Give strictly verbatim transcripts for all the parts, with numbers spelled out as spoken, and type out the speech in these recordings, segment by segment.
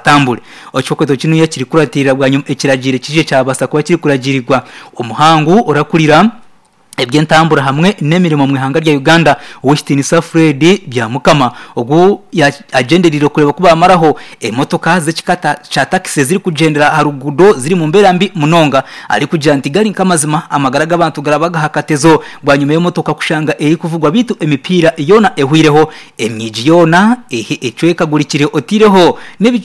Batambure ekikweto kinu ekirikuratirira bwanyuma ekiragiro kije kyabasa kuba kirikuragirirwa omuhangu orakurira eby'entambura hamwe n'emirimo mu ihanga rya Uganda Owekitiinisa Fred Byamukama ogu agyendereire kureba ku bamaraho emotoka z'ekika kya takisi ezirikugyendera aha ruguudo ziri mu mbeera mbi munonga arikugira nti gari nk'amazima amagara g'abantu garaba aha katezo bwanyima y'emotoka kushanga erikuvugwa beitu emipiira yoona ehwireho emyigi yoona ecwekagurikire otaireho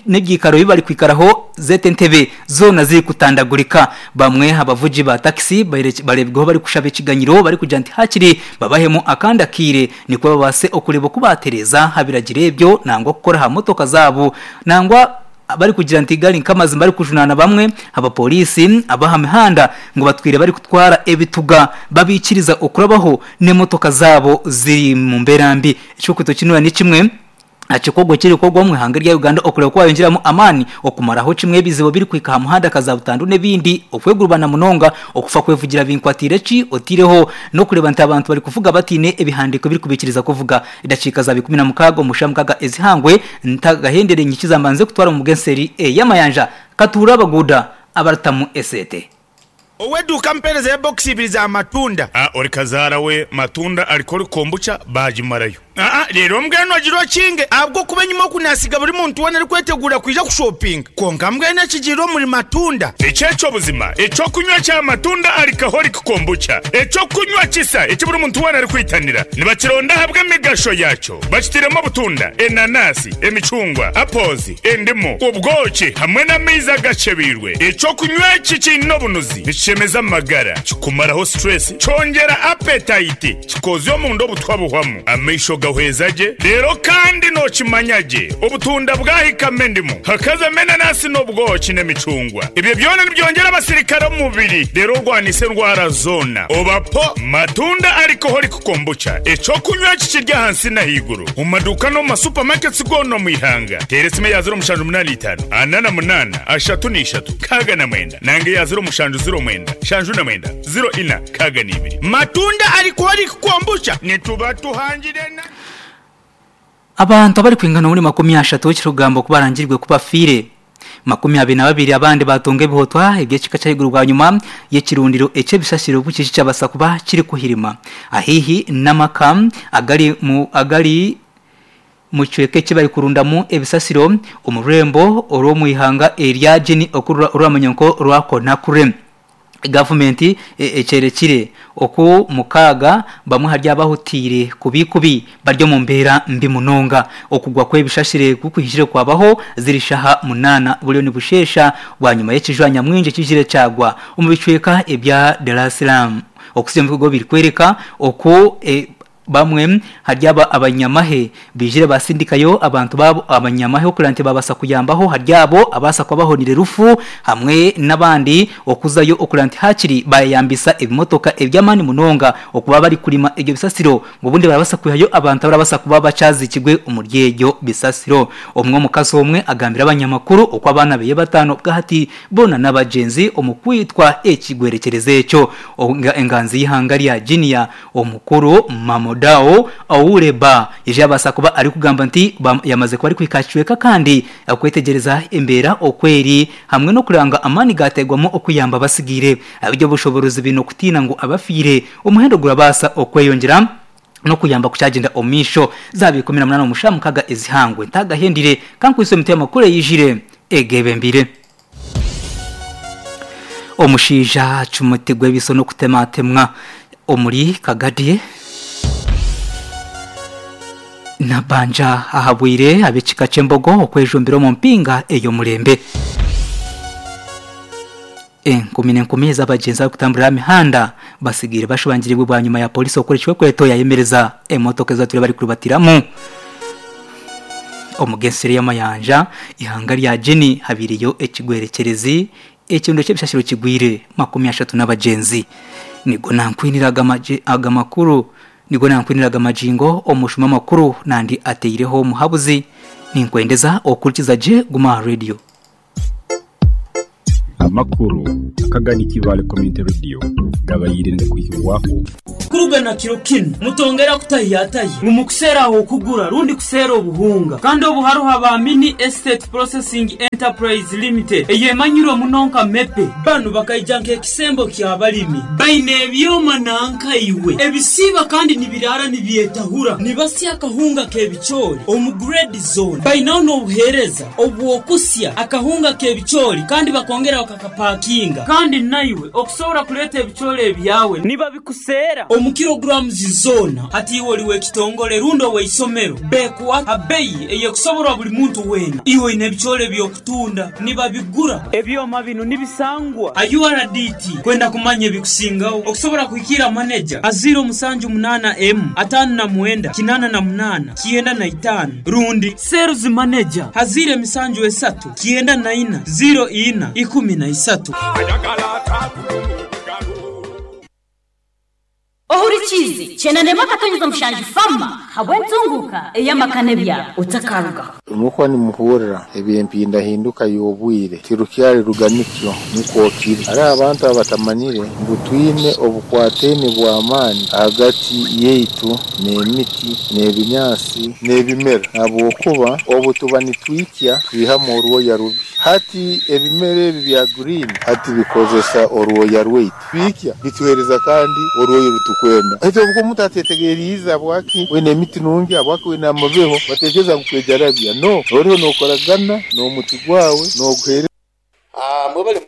n'ebiikaro ebi barikwikaraho zete entebe zoona zirikutandagurika. Bamwe abavugi ba takisi bareebirweho barikushaba ekiganyiro barikugira nti hakiri babahemu akandi akaire nikwo babaase okureeba oku baatereeza aha biragiro ebyo nangwa okukora aha motoka zaabo nangwa barikugira nti gari nk'amazima barikujunaana bamwe abapoliisi ab'aha mihanda ngu batwire barikutwara ebituga babiikiriza okurabaho n'emotoka zaabo ziri mu mbeera mbi. Ekikweto kinu ni kimwe ekikorwa ekirikukorwa omu ihanga rya Uganda okureba ku bayongyeramu amaani okumaraho kimwe ebizibu birikuhika aha muhanda nka butandu n'ebindi okwegurubana munonga okufa kwevugira binkwatiire ki otaireho n'okureeba nti abantu barikuvuga bataine ebihandiiko ebirikubaikiriza kuvuga. Edakiika zaaba ikumi na mukaaga omu shaaha mukaaga ezihangwe ntagahendere nyikiza mbanze kutwara omu bw'enseri ey'amayanja katuura abaguuda abaritamu esente. Ow'eduuka ampeereza ebokisi ibiri za matunda. A Ori kazaara we matunda arikori kombucha baagimarayo. Aa Reero mbwenu ogira okinge ahabw'okuba enyima oku naasiga buri muntu weena arikweteguura kwija kushopinga. Kwonka mbwenu ekigiire omuri matunda. Eki eky'obuzima eky'okunywa kya matunda alcoholic kombucha. Eky'okunywa kisa eki buri muntu weena arikwitanira. Nibakironda ahabw'emigasho yaakyo. Bakitairemu obutunda, enanasi, emicungwa, apples, endimu, obwoki hamwe n'amaizi agakyebeirwe. Eky'okunywa eki kiine obunuzi, nikishemeza amagara, kikumaraho stress, kyongyera appetite, kikoozya omunda obutwa buhwamu, amaisho gahweza gye, reero kandi nookimanya gye obutunda bwahikamu endimu, hakazamu enanasi n'obwoki n'emicungwa. Ebyo byona nibyongyera abasirikare omu mubiri reero orwanise endwara zoona. Oba po Matunda Alcoholic Kombucha, eky'okunywa eki kiri ahansi n'ahaiguru omu maduuka n'omu ma supermarkets goona omu ihanga. Teera esimu eya ziro mushanju munaana itaano, ana na munaana, ashatu na ishatu, nkaaga na mwenda nanga eya ziro mushanju ziro mwenda, nshanju na mwenda, ziro ina, nkaaga na ibiri. Matunda Alcoholic Kombucha nituba tuhangire na. Abantu abarikwingana omuri makumi ashatu ekirikugambwa ku barangirwe ku bafiire makumi abiri na babiri abandi batunga ebihotwa eby'ekika ky'ahaiguru bwanyima y'ekirundiro eky'ebisasiro obu kiki kyabasa kuba kirikuhirima ahaihi n'amaka agari mu agari mu kicweka eki barikurundamu ebisasiro omu rurembo orw'omu ihanga erya Guinea oruramanywa nk'orwa Conakry. Gavumenti ekyerekire oku mukaaga bamwe ahari abahutiire kubi kubi bari omu mbeera mbi munonga. Okugwa kw'ebishashire ku kuhikire kwabaho ziri shaaha munaana buriyo nibusheesha bwanyima y'ekijwa nyamwingi ekijire kyagwa omu bicweka ebya Dar es Salaam. Okusiima ebikorwa birikworeka oku bamwe ahari aba abanyamahe baijire basindikayo abantu baabo abanyamahe okureba nti babaasa kuyambaho ahari abo abaasa kuba bahonire rufu hamwe n'abandi okuzayo okureba nti hakiri bayeyambisa ebimotoka eby'amaani munonga okuba barikurima ebyo bisasiro ngu obundi barabaasa kwihayo abantu abarabaasa kuba bakyazikirwe omuri ebyo bisasiro. Omwe omukazi omwe agambire abanyamakuru oku abaana beye bataano bwahati boona n'abagyenzi omu kwitwa ekigwerekyerezi ekyo. Enganzi y'eihanga rya Guinea omukuru Mamodao Ouleba yaija yabaasa kuba arikugamba nti yamaze kuba arikuhika aha kicweka kandi okwetegyereza embeera oku eri hamwe n'okureba ngu amaani gaateerwamu okuyamba abatsigaire. Eby'obushoboorozi baine okutiina ngu abafiire omuhendo gurabaasa okweyongyera n'okuyamba kukyagyenda omu maisho. Zaaba ikumi na munaana omu shaaha mukaaga ezihangwe ntagahendire kankwitse emiti y'amakuru eyijire egebembire. Omushaija acumutirwe ebiso n'okutematemwa omuri Kagadi Nabbanja ahabwire ab'ekika ky'embogo okwejumbira omu mpinga ey'omurembe. Enkumi n'enkumi ez'abagyenzi abarikutamburira aha mihanda batsigaire bashobangiriibwe bwanyima ya pooriisi okukora ekikwekweto yayemereza emotoka ezi batwire barikurubatiramu. Omu g'enseri y'amayanja, eihanga rya Guinea habaireyo ekigwerekyerezi ekirundo ky'ebishashiro kigwire makumi ashatu n'abagyenzi. Nigo nankwinire aga makuru nigo nankwinire aga magingo omushuma amakuru nandi ataireho omuhabuzi. Ninkwendeza okurikiza gye Guma aha Radio. Amakuru akagani Kibale Community Radio gabayire kuhibwaho Kuruga na kiro kinu mutongera kutahiyatayi mumukusera aho kugura rundi kusera obuhunga kandi obuharuha ba Mini Estate Processing Enterprise Limited eyemanyirwe munonka mepe banu bakaija nk'ekisembo ky'abalimi baine ebyoma nankaiwe ebisiba kandi nibirara nibyetahura nibasya akahunga k'ebicoori omu grade zone bainaho n'obuheereza obwokusya akahunga k'ebicoori kandi bakongera bakakapakinga kandi naiwe okusobola kuleeta ebicoori ebyawe nibabikusera omu kilograms zona hati iwe oli w'ekitongole rundi ow'eisomero bekuwa abeyi eyekusoborwa buli muntu weena iwe oine ebicoori eby'okutunda nibabigura ebyoma bino nibisangwa a U R D T kwenda kumanya ebikusingaho okusobola kuhikira maneja a zero musanju munana m atano na mwenda kinana na munana kienda na itano rundi sales manager hazire misanju esatu kienda na ina zero ina ikumi na isatu. Ohurichizi chenanema katonyeza mushanju fama habwentunguka eyamakane bya utakaruga Umuko ni muhurira ebyempinda hinduka yobwire kirukyali ruganikyo nukokiri ari abantu abatamanyire ngu twine obukwateni bw'amaani hagati yeitu n'emiti n'ebinyaasi n'ebimera habwokuba obutuba nitwikya twihamu orwoya rubi hati ebimera ebi bya green hati bikozesa orwoya rweitu bikya bituhereza kandi orwoya rutukwenda hati obwo omuntu atetegeriiza bwaki wene emiti nungi abwaki wene amabeho batekereza ngu kwejarabya no oriho nokoragana n'omuti gwawe n'oguhere Ah mwebale